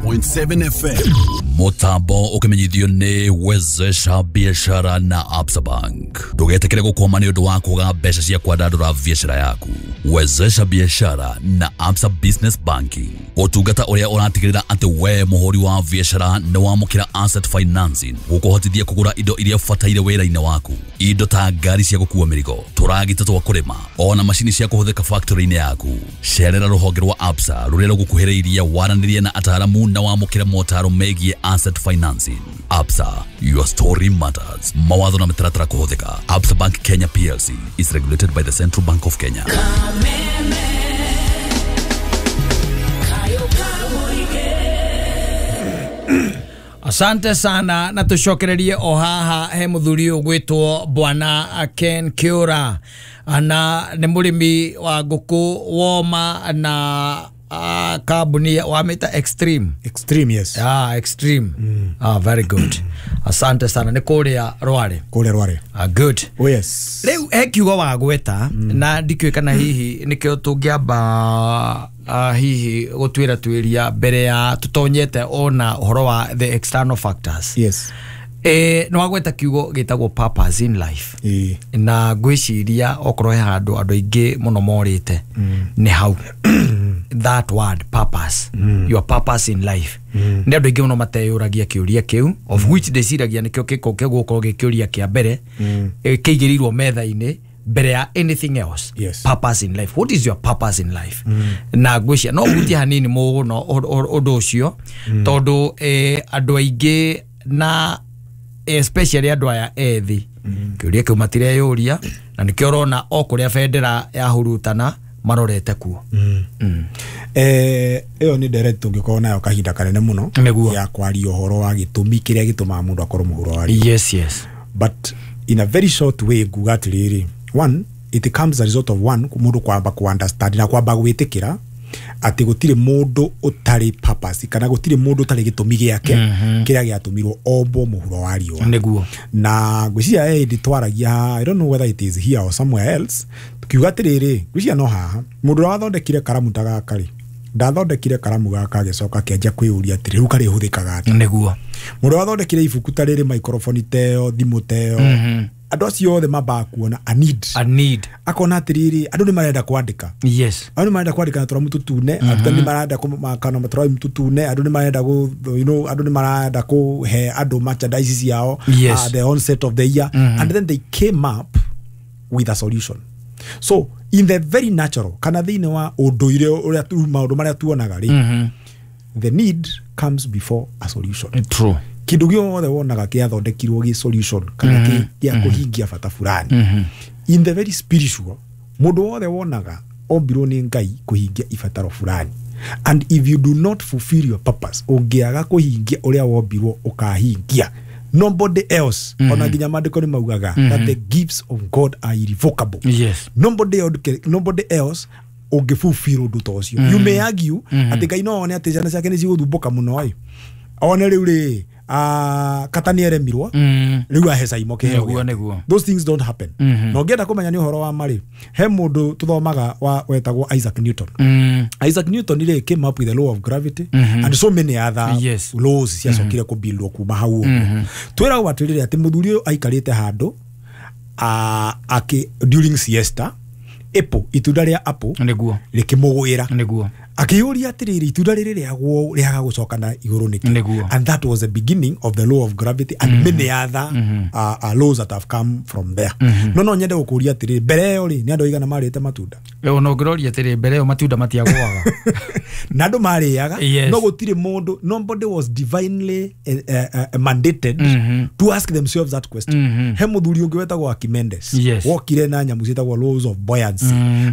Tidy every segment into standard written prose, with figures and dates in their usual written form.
101.7 FM. Mutambo ukimenyithio ni Wezesha Biashara na Absa Bank. Ndugetikire gukwama ni undu wa kwaga mbeca cia kwandandura biashara yaku. Wezesha Biashara na Absa Business Banking, utungata uria uratigirira ati we muhuri wa biashara ni wamukira asset financing gukuhotithia kugura indo iria ubataire wira-ini waku, indo ta ngari cia gukua mirigo, turagita twa kurima, ona macini cia kuhuthika factory-ini yaku. Cerera ruhonge rwa Absa ruria rugukuhiriirie waranirie na ataramu na wamukire motaro megie asset financing. Absa, your story matters. Mawatho na mitaratara kuhuthika. Absa Bank Kenya PLC is regulated by the Central Bank of Kenya. Asante sana na tucokererie o haha he muthuri ugwitwo Bwana Ken Kiura, na ni murimi wa nguku woma na kambuni wa mita Extreme. Extreme, yes. Extreme. Very good. Asante sana. Ni kuria Rware. Kuria Rware. Good. Oh yes. Riu he kiugo wa gweta na ndikiũĩ kana hihi nikio tungiamba hihi gutwira twiria mbere ya tutonyete ona uhoro wa the external factors. Yes. No wagweta kiugo gitagwo purpose in life. Na ngwiciria okorwo he handu andu aingi muno morite ni hau. That word purpose. Your purpose in life. Ni andu aingi muno mateyuragia kiuria kiu, of which ndeciragia nikio giko gigukorwo gikiuria kia mbere kiigirirwo metha-ini mbere ya anything else. Yes. Purpose in life. What is your purpose in life? Na ngwicia no hutie hanini muno undu ucio tondu andu aingi na especially andu aya ethi kiuria kiu matireyuria na nikio urona o kuria bendera ya hurutana marorete kuo. Iyo ni direct tungikorwo nayo kahinda kanene muno ya kwaria uhoro wa gitumi kiria gitumaga mundu akorwo muhuro wa. Yes, yes. But in a very short way nguga atiriri, one, it comes as a result of one mundu kwamba ku understand na kwamba gwitikira ati gutire mundu utari purpose kana gutire mundu utari gitumi giake kiria giatumirwo ombo muhuro wa riua niguo. Na ngwiciria ndi twaragia, I don't know whether it is here or somewhere else, tukiuga atiriri ngwiciria no haha mundu uria wathondekire karamu ta gaka ri ndathondekire karamu gaka agicoka akianjia kwiyuria atiri riu karihuthikaga atia. Niguo. Mundu wathondekire ibuku ta riri, microphone teo, thimu teo, andu acio othe mambaga kuona a need. A need. Akona atiriri andu ni marenda kwandika. Yes. Andu ni marenda kwandika na turamu tutune, andu ni marenda kumakana maturamu tutune, andu ni marenda go, you know, andu ni marenda kuhe andu merchandise ciao. Yes. The onset of the year. And then they came up with a solution. So in the very natural kana thiini wa unduire uria tu maundu maria tuonaga ri, the need comes before a solution. True. Kindu giothe wonaga kiathondekirwo gi solution kana kia kuhingia bata fulani. In the very spiritual, mundu wothe wonaga ombirwo ni Ngai kuhingia ibataro fulani, and if you do not fulfill your purpose, ungiaga kuhingia uria wombirwo ukahingia nobody else. Ona nginya maandiko ni maugaga that the gifts of God are irrevocable. Yes. Nobody else ungifulfill undu ta ucio. You may argue ati Ngai no one ati ciana ciake ni cigũthumbũka muno ĩ, one riu ri kata ni eremirwo riu ahe Saimo kiheo. Those things don't happen. Na ũngĩenda kũmenya nĩ ũhoro wa marĩ, he mũndũ tuthomaga wa wetagwo Isaac Newton. Isaac Newton rĩ came up with the law of gravity and so many other laws ciacokire kũbuildwo kuma hau ũguo. Twĩragwo atĩrĩrĩ atĩ mũthuri ũyũ aikarĩte handũ during siesta, apple, itunda rĩa apple niguo rĩkĩmũgwĩra. Niguo. Akĩyũria atĩrĩrĩ, itunda rĩrĩ rĩagwo rĩaga gũcoka na igũrũ nĩkĩ? Niguo. And that was the beginning of the law of gravity and many other laws that have come from there. No nyende gũkũria atĩrĩrĩ, mbere ĩyo rĩ nĩ andũ aigana marĩte matunda? Ona ũngĩroria atĩrĩ, mbere ĩyo matunda matiagũaga na andũ marĩaga. No gũtirĩ mũndũ, nobody was divinely mandated to ask themselves that question. He mũthuri ũngĩ wetagwo Archimedes wokire na nyamũ ciĩtagwo laws of buoyancy,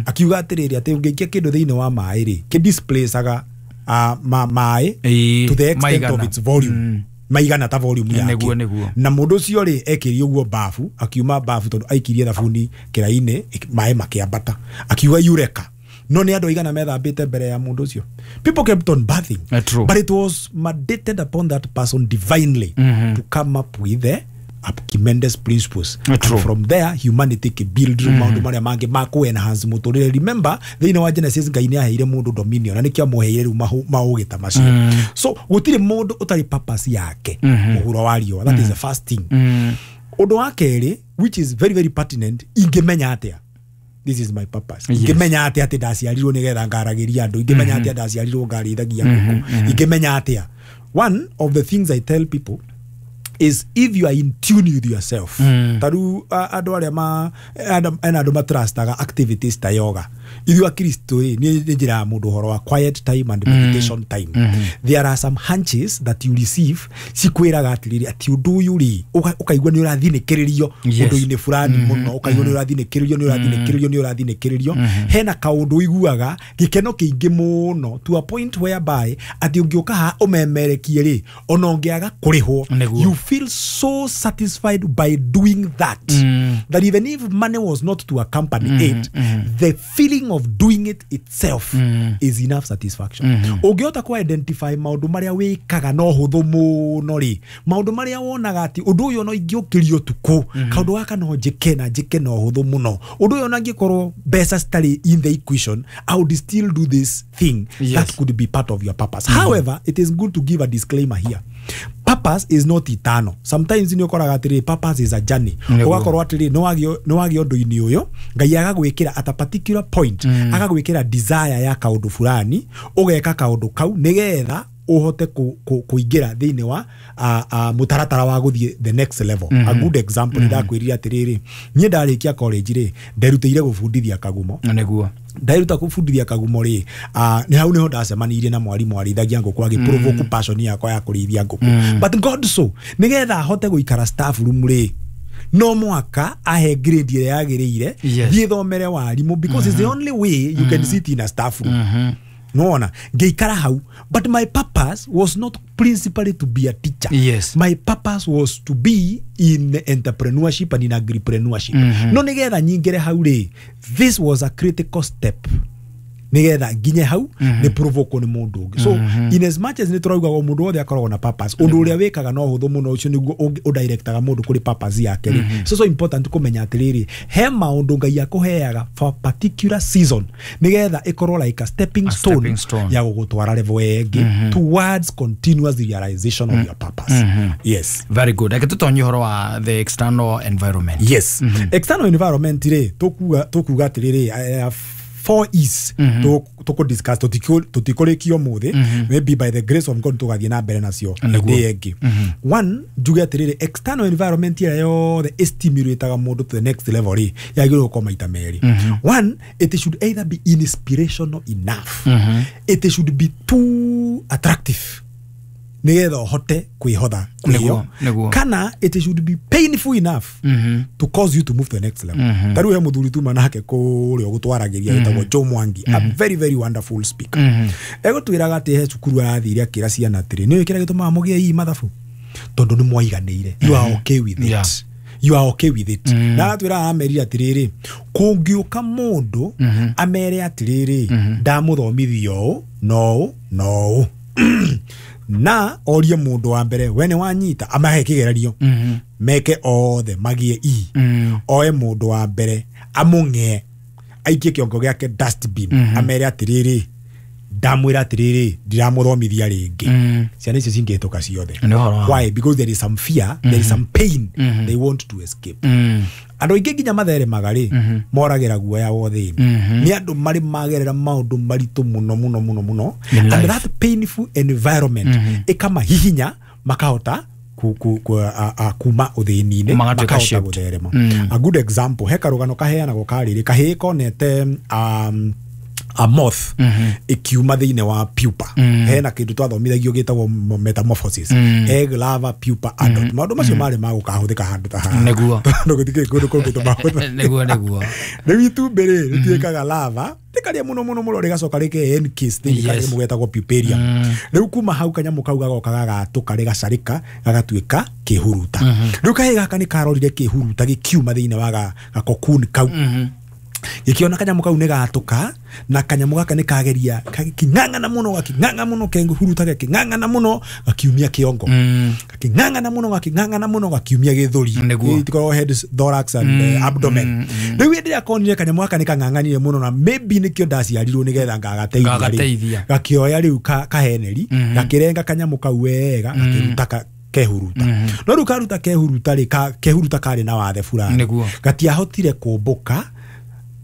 akiuga atĩrĩrĩ atĩ ũngĩikia kĩndũ thĩinĩ wa maĩ rĩ, displaceaga maĩ to the extent of its volume, maigana ta volume yake. Na mundu ucio ri ekirie uguo bafu, akiuma bafu tondu aikirie thabuni kiraini, maĩ makiambata, akiuga eureka. No ni andu aigana methambite mbere ya mundu ucio. People kept on bathing. True. But it was mandated upon that person divinely to come up with the Archimedes principles. And from there humanity can build maundu maria mangi ma ku enhance muturire. Remember thiini wa Genesis Ngai ni aheire mundu dominion na nikio muheire riu maugi ta macio. So gutiri mundu utari purpose yake muhuro wa riua. That is the first thing. Undu wa keri, which is very very pertinent, ingimenya atia this is my purpose. Ingimenya atia ati ndaciarirwo nigetha ngaragiria andu, ingimenya atia ndaciarirwo ngarithagia nguku, ingimenya atia. One of the things I tell people is if you are in tune with yourself. Taru andu aria ma ena andu matrustaga activities ta yoga. Ithuĩ Akristo ĩ ni njĩra mũndũ ũhoro wa quiet time and meditation time. There are some hunches that you receive cikwĩraga atĩrĩrĩ atĩ ũndũ ũyũ rĩ ũkaigua nĩ ũrathinĩkĩrĩrio ũndũ-inĩ fulani mũno, ũkaigua nĩ ũrathinĩkĩrĩrio nĩ ũrathinĩkĩrĩrio nĩ ũrathinĩkĩrĩrio. Hena kaũndũ ũiguaga gĩkeno kĩingĩ mũno to a point whereby atĩ ũngĩũka haha ũmemerekie rĩ ona ũngĩaga kũrĩhwo, you feel so satisfied by doing that that even if money was not to accompany it, the feeling of doing it itself is enough satisfaction. Ũngĩhota ku identify maũndũ marĩa wĩkaga no hũthũ mũno rĩ, maũndũ marĩa wonaga atĩ ũndũ ũyũ no ingĩũkĩrio ũtukũ, kaũndũ gaka no njĩke na njĩke no hũthũ mũno, ũndũ ũyũ ona angĩkorwo mbeca citarĩ in the equation, I would still do this thing. That could be part of your purpose. However, it is good to give a disclaimer here. Purpose is not eternal. Sometimes ni ukoraga atiri purpose is a journey. Ugakorwo atiri no wagio ũndũ-inĩ ũyũ Ngai agagwĩkĩra at a particular point, agagwĩkĩra desire ya kaũndũ fulani, ũgeka kaũndũ kau nĩgetha uhote kuingira thiini wa mutaratara wa guthie the next level. A good example mm ndakwirire atiriri nie ndarikia college ri nderutire gubundithia kagumo niguo ndairuta kubundithia kagumo ri ni hau niho ndacemanirie na mwarimu arithagia nguku agiprovoke passion yakwa ya kurithia nguku but God so nigetha hote guikara staff room ri no mwaka ahe grade ire yagiriire thiĩ thomere warimu because it's the only way you can sit in a staff room. No, ngeikara hau, but my purpose was not principally to be a teacher. Yes. My purpose was to be in entrepreneurship and in agripreneurship. No nigetha nyingire hau ri, this was a critical step. Nigetha nginye hau ni provoke ni mundu ungi. So in as much as ni turauga mundu wothe akoragwo na purpose, undu uria wikaga no huthu muno ucio niguo udirectaga mundu kuri purpose yake ri. So so important kumenya atiriri he maundu Ngai akuheaga for particular season nigetha ikorwo like a stepping stone ya gugutwara level ĩngĩ towards continuous realization of your purpose. Yes. Very good. Reke tutonye uhoro wa the external environment. Yes. External environment ri tukuga atiriri 4 E's to discuss tutikorikio muthe maybe by the grace of God tugathie na mbere nacio hindi ĩngĩ. One, njuge atiriri external environment ira yothe stimulataga mundu to the next level ri yagĩrĩirwo gũkorwo maita merĩ. One, it should either be inspirational enough, it should be too attractive nigetha uhote kwihotha kwio, kana it should be painful enough to cause you to move to the next level. Taru he muthuri tuma nake kuria gutwaragiria wetagwo Joe Mwangi, a very very wonderful speaker. Egutwiraga ati he cukuru arathire akira ciana atiri ni kira gitumaga mugie ii mathabu tondu ni mwaiganire, you are okay with it. Yeah. You are okay with it. Na atwira amerire atiriri kungiuka mundu amere atiriri ndamuthomithio no no na orie mundu wa mbere we ni wanyita amahe kigererio meke othe magie i oe mundu wa mbere amung'e aikie kiongo giake dustbin amere atiriri ndamwira atiriri ndiramuthomithia ringi ciana icio cingihituka ciothe. Why? Because there is some fear, there is some pain they want to escape. Andũ aingĩ nginya matheremaga rĩ moragĩra guoya wothe nĩ andũ marĩ magerera maũndũ maritũ mũno mũno mũno mũno, and that painful environment ĩkamahihinya makahota kuma ũthĩni-inĩ makahota gũtherema. A good example, he karũgano kaheanagwo karĩrĩ kahĩĩ konete a moth ikiuma thiini wa pupa. Hena kindu twathomithagio gitagwo metamorphosis, egg, larva, pupa, adult. Maundu macio mari ma gukahuthika handu ta haha niguo tondu gutiki kundu kungi tumahutha niguo niguo. Riu itumbi ri rituikaga larva rikaria muno muno muno rigacoka rike encase thiini kanyamũ getagwo puparium. Riu kuma hau kanyamũ kau gagoka gagatuka rigacarika gagatuika kihuruta. Riu kahĩĩ gaka ni karorire kihuruta gikiuma thiini wa gakokuni kau Gĩkĩona kanyamũ kau nĩ gatũka na kanyamũ gaka nĩ kageria gakĩng'ang'ana mũno gakĩng'ang'a mũno kehuruta gakĩng'ang'ana mũno gakiumia kĩongo gakĩng'ang'ana mũno gakĩng'ang'ana mũno gakiumia gĩthũri. Itikoragwo head, thorax and abdomen. Rĩu hĩndĩ ĩrĩa konire kanyamũ gaka nĩ kang'ang'anire mũno na maybe nĩkĩo ndaciarirwo nĩgetha ngagateithia, gakĩoya rĩu kaheneri gakĩrenga kanyamũ kau wega gakĩruta kehuruta. No rĩu karuta kehuruta rĩ, kehuruta karĩ na wathe fulani, gatiahotire kũmbũka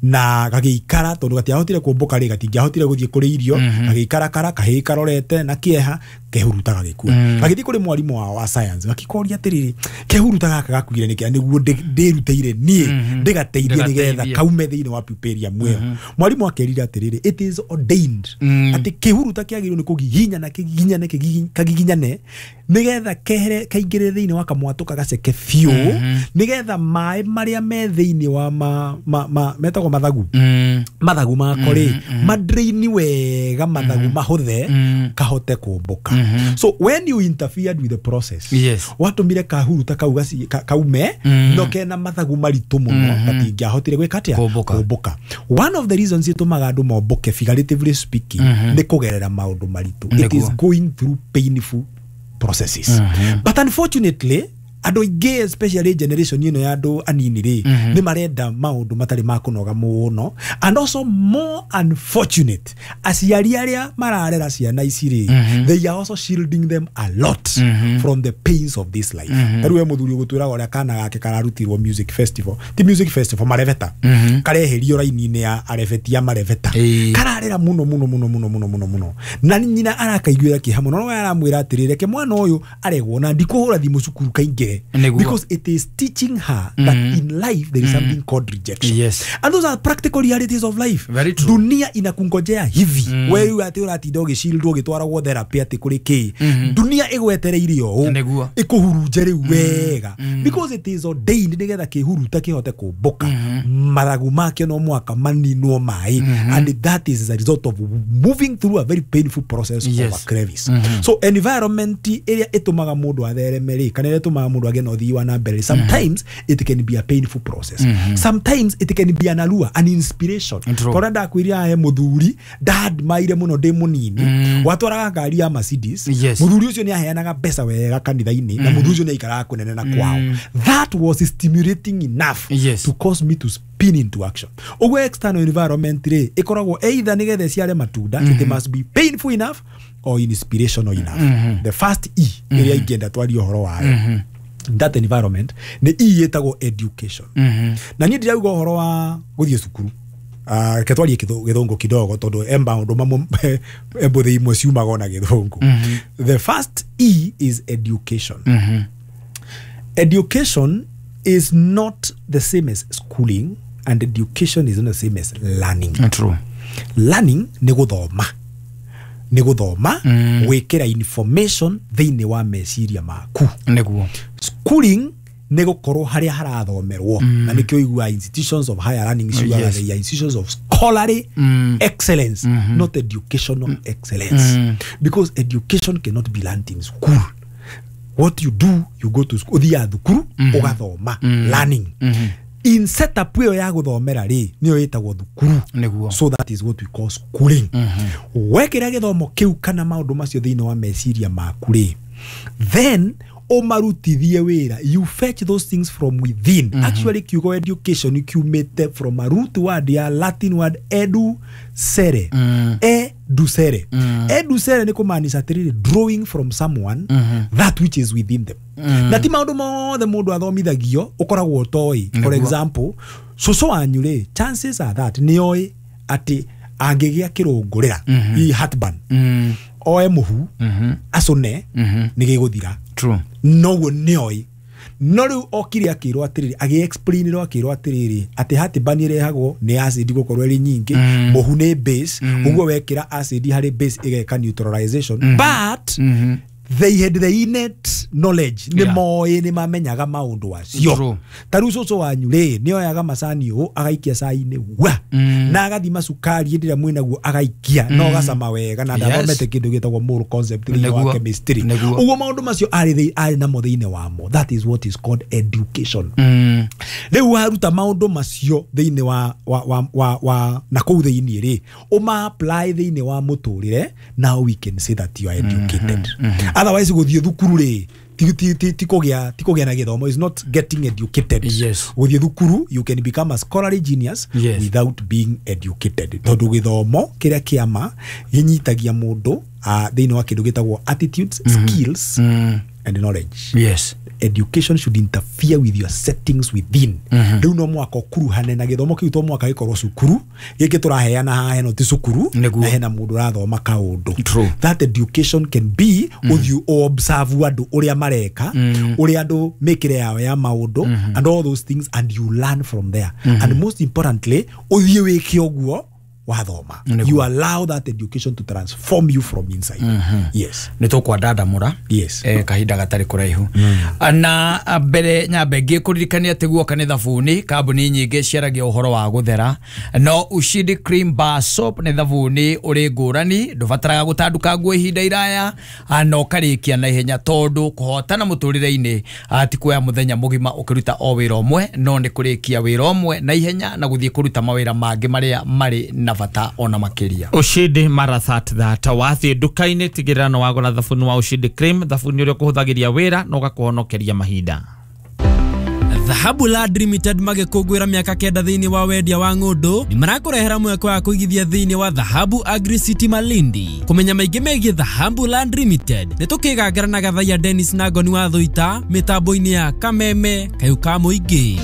na gagĩikara tondũ gatiahotire kũmbũka rĩ, gatingĩahotire gũthiĩ kũrĩ irio, gagĩikara kara kahĩĩ karorete na kĩeha, kehuruta gagĩkua. Gagĩthiĩ kũrĩ mwarimũ wao wa science gakĩkoria atĩrĩrĩ, kehuruta gaka gakuire nĩkĩ nĩguo ndĩrutĩire niĩ ndĩgateithie nĩgetha kaume thĩinĩ wa puparium ĩyo. Mwarimũ akerire atĩrĩrĩ, it is ordained atĩ kĩhuruta kĩagĩrĩirwo nĩ kũgiginyana kĩgiginyane kagiginyane nĩgetha kehere kaingĩre thĩinĩ wa kamwatũ gaceke biũ nĩgetha maĩ marĩa me thĩinĩ wa metagwo mathagu mathagu mako rĩ madraini wega mathagu mahũthe kahote kũmbũka. So when you interfered with the process, watũmire kahuruta kau kaume no kena mathagu maritũ mũno gatingĩahotire gwĩka atĩa kũmbũka. One of the reasons itũmaga andũ mombũke figuratively speaking nĩ kũgerera maũndũ maritũ. It is going through painful processes. But unfortunately andũ aingĩ especially generation ĩno ya andũ anini rĩ nĩ marenda maũndũ matarĩ ma kũnoga mũno. And also more unfortunate, aciari arĩa mararera ciana ici rĩ, they are also shielding them a lot from the pains of this life. Tarĩu we mũthuri ũgũtwĩraga ũrĩa kana gake kararutirwo music festival, ti music festival, marebeta, kareherio raini-inĩ ya arebeti ya marebeta, kararera mũno mũno mũno mũno mũno mũno mũno na nyina arakaiguĩra kĩeha mũno, no aramwĩra atĩrĩrĩ, reke mwana ũyũ aregwo na ndikũhũra thimũ cukuru kaingĩre. Because it is teaching her that in life there is something called rejection. Yes. And those are practical realities of life. Very true. Dunia inakungojea hivi. Wewe ati ũratinda ũgĩcildwo ũgĩtwaragwo therapy atĩ kũrĩ kĩ. Dunia ĩgwetereire ũũ ĩkũhurunje rĩu wega. Because it is ordained nĩgetha kĩhuruta kĩhote kũmbũka. Mathagu makĩo no mũhaka maninwo maĩ. And that is a result of moving through a very painful process of a crevice. So environment ĩrĩa ĩtũmaga mũndũ athereme rĩ, kana ĩrĩa ĩtũmaga mũndũ agĩe na ũthii wa na mbere, sometimes it can be a painful process. Sometimes it can be an allure, an inspiration. Tondũ ndakwĩrire he mũthuri ndadmaire mũno ndĩ mũnini watwaraga ngari ya Mercedes. Mũthuri ũcio nĩ aheanaga mbeca wega kanitha-inĩ na mũthuri ũcio nĩ aikaraga kũnene na kwao. That was stimulating enough to cause me to spin into action. Ũguo external environment rĩ ĩkoragwo either nĩgetha ĩciare matunda, it must be painful enough or inspirational enough. The first E ĩrĩa ingĩenda twarie ũhoro wayo that environment nĩ E ĩtagwo education. Na niĩ ndirauga ũhoro wa gũthiĩ cukuru, reke twarie gĩthũngũ kidogo tondũ e maũndũ mamwe mbũthĩ imwe ciumaga ona gĩthũngũ. The first E is education. Education is not the same as schooling and education is not the same as learning. True. Learning nĩ gũthoma, nĩ gũthoma gwĩkĩra information thĩinĩ wa meciria maku. Nĩguo. Schooling nĩ gũkorwo harĩa harathomerwo na nĩkĩo iguaga institutions of higher learning ciugaga they are institutions of scholarly excellence, not educational excellence. Because education cannot be learned in school. What you do, you go to school, ũthiaga thukuru ũgathoma, learning. In setup ĩyo ya gũthomera rĩ nĩyo ĩtagwo thukuru. So that is what we call schooling. Wekĩra gĩthomo kĩu kana maũndũ macio thĩinĩ wa meciria maku rĩ, then ũmarutithie wĩra. You fetch those things from within. Actually kiugo education kiumĩte from a root word ya Latin word educere. Educere. Educere nĩ kũmaanisha atĩrĩrĩ, drawing from someone that which is within them. Na ti maũndũ mothe mũndũ athomithagio ũkoragwo ũtoĩ. For example, cũcũ wanyu rĩ, chances are that nĩoĩ atĩ angĩgĩa kĩrũngũrĩra, hihi heartburn, oe mũhu acũne nĩ gĩgũthira. Noguo nĩoĩ. No rĩu okire akĩrwo atĩrĩrĩ, agĩ-explainĩrwo akĩrwo atĩrĩrĩ atĩ heartburn ĩrehagwo nĩ acid gũkorwo ĩrĩ nyingĩ, mũhu nĩ base, ũguo wekĩra acid harĩ base ĩgeka neutralization. But They had the innate knowledge, nĩ moĩ, nĩ mamenyaga maũndũ acio. Ta rĩu cũcũ wanyu rĩ, nĩ oyaga macani ũũ agaikia cai-inĩ wa na agathima cukari hĩndĩ ĩrĩa mwĩnaguo agaikia na ũgacama wega, na ndathomete kĩndũ gĩtagwo mole concept thĩinĩ wa chemistry. Ũguo maũndũ macio arĩ namo thĩinĩ wamo. That is what is called education. Rĩu waruta maũndũ macio thĩinĩ wa na kũu thĩinĩ rĩ, ũma apply thĩinĩ wa mũtũrĩre, now we can say that you are educated. Otherwise gũthiĩ thukuru rĩ, ti kũgĩa na gĩthomo, is not getting educated. Gũthiĩ thukuru, you can become a scholarly genius without being educated. Tondũ gĩthomo kĩrĩa kĩama gĩnyitagia mũndũ thĩinĩ wa kĩndũ gĩtagwo attitudes, skills and knowledge. Education should interfere with your settings within. Rĩu no mwaka ũkuruhane na gĩthomo kĩu, to mwaka gĩkorwo cukuru gĩkĩ tũraheana haha ĩno ti cukuru, na hena mũndũ ũrathoma kaũndũ. That education can be ũthiĩ observe andũ ũrĩa mareka, ũrĩa andũ mĩkĩre yao ya maũndũ, and all those things, and you learn from there. And most importantly, ũthiĩ wĩke ũguo wathoma. You allow that education to transform you from inside. Yes. Nĩ tũkwandandamũra kahinda gatarĩ kũraihu. Na mbere nyambe ngĩkũririkania atĩ guoka nĩ thabuni, kambuni nyingĩ ciaragia ũhoro wa gũthera, no Ushindi Cream Bar Soap nĩ thabuni ũrĩ ngũrani, ndũbataraga gũtanduka nguo ihinda iraya, na ũkarĩkia na ihenya, tondũ kũhotana mũtũrĩre-inĩ ti kuoya mũthenya mũgima ũkĩruta o wĩra ũmwe, no nĩ kũrĩkia wĩra ũmwe na ihenya na gũthiĩ kũruta mawĩra mangĩ marĩa marĩ na bata ona makĩria. Ushindi marathat thata wathiĩ nduka-inĩ tigĩrĩra no wagũra thabuni wa Ushindi Cream, thabuni ũrĩa ũkũhũthagĩria wĩra na ũgakũhonokeria mahinda. Dhahabu Land Limited magĩkũngũĩra mĩaka 9 thĩinĩ wa wendia wa ng'ũndũ, nĩ marakũrehera mweke wa kũigithia thĩinĩ wa Dhahabu Agri City Malindi. Kũmenya maingĩ megiĩ Dhahabu Land Limited, nĩ tũkĩgangara na Gathaiya Dennis na Ngoni wa Thũita mĩtambo-inĩ ya Kameme Kayũ ka Mũingĩ.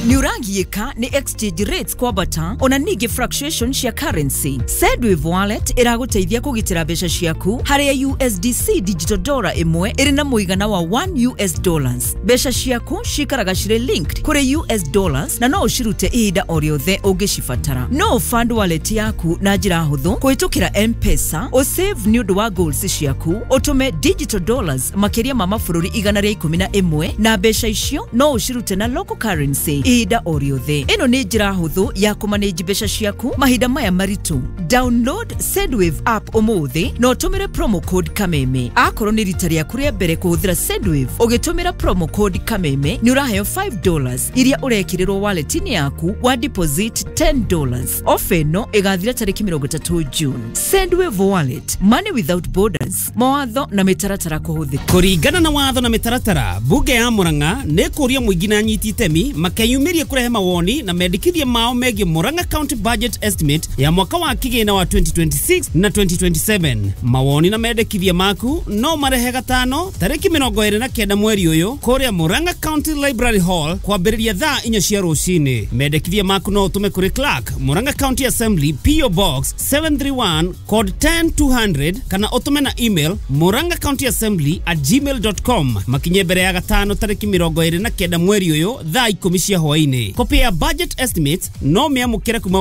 Nĩũragiĩka nĩ exchange rates kwambata ona ningĩ fluctuation cia currency. Sendwave Wallet ĩragũteithia kũgitĩra mbeca ciaku harĩa USDC digital dollar ĩmwe ĩrĩ na mũigana wa 1 US dollars. Mbeca ciaku cikaraga cirĩ linked kũrĩ US dollars na no ũcirute ihinda o rĩothe ũngĩcibatara. No ũfund wallet yaku na njĩra hũthũ kũhĩtũkĩra M-Pesa, ũsave nĩ ũndũ wa goals ciaku, ũtũme digital dollars makĩria ma mabũrũri 111 na mbeca icio no ũcirute na local currency ihinda o rĩothe. Ĩno nĩ njĩra hũthũ ya kũmanage mbeca ciaku mahinda maya maritũ. Download Sendwave app ũmũthĩ na ũtũmĩre promo code Kameme. Akorwo nĩ rita rĩaku rĩa mbere kũhũthĩra Sendwave, ũgĩtũmĩra promo code Kameme nĩ ũraheo $5 iria ũrekĩrĩrwo wallet-inĩ yaku wa deposit $10. Ofa ĩno ĩgathira tarĩki 30 June. Sendwave Wallet, money without borders. Mawatho na mĩtaratara kũhũthĩka. Kũringana na watho na mĩtaratara, bunge ya Murang'a nĩ kũria mũingĩ na anyiti itemi makeyumĩrie kũrehe mawoni na mendekithia mao megiĩ Murang'a County Budget Estimate ya mwaka wa kĩgĩna wa 2026 na 2027. Mawoni na mendekithia maku no marehe gatano tarĩki 29 mweri ũyũ kũrĩa Murang'a County Library Hall kwambĩrĩria thaa 4 cia rũcinĩ. Mendekithia maku no ũtũme kũrĩ Clerk, Murang'a County Assembly, PO Box 731 code 10200 kana ũtũme na email murang'acountyassembly@gmail.com. Makinye mbere ya gatano tarĩki 29 mweri ũyũ thaa 10 cia hwaĩ-inĩ. Kopi ya budget estimates no mĩamũkĩre kuma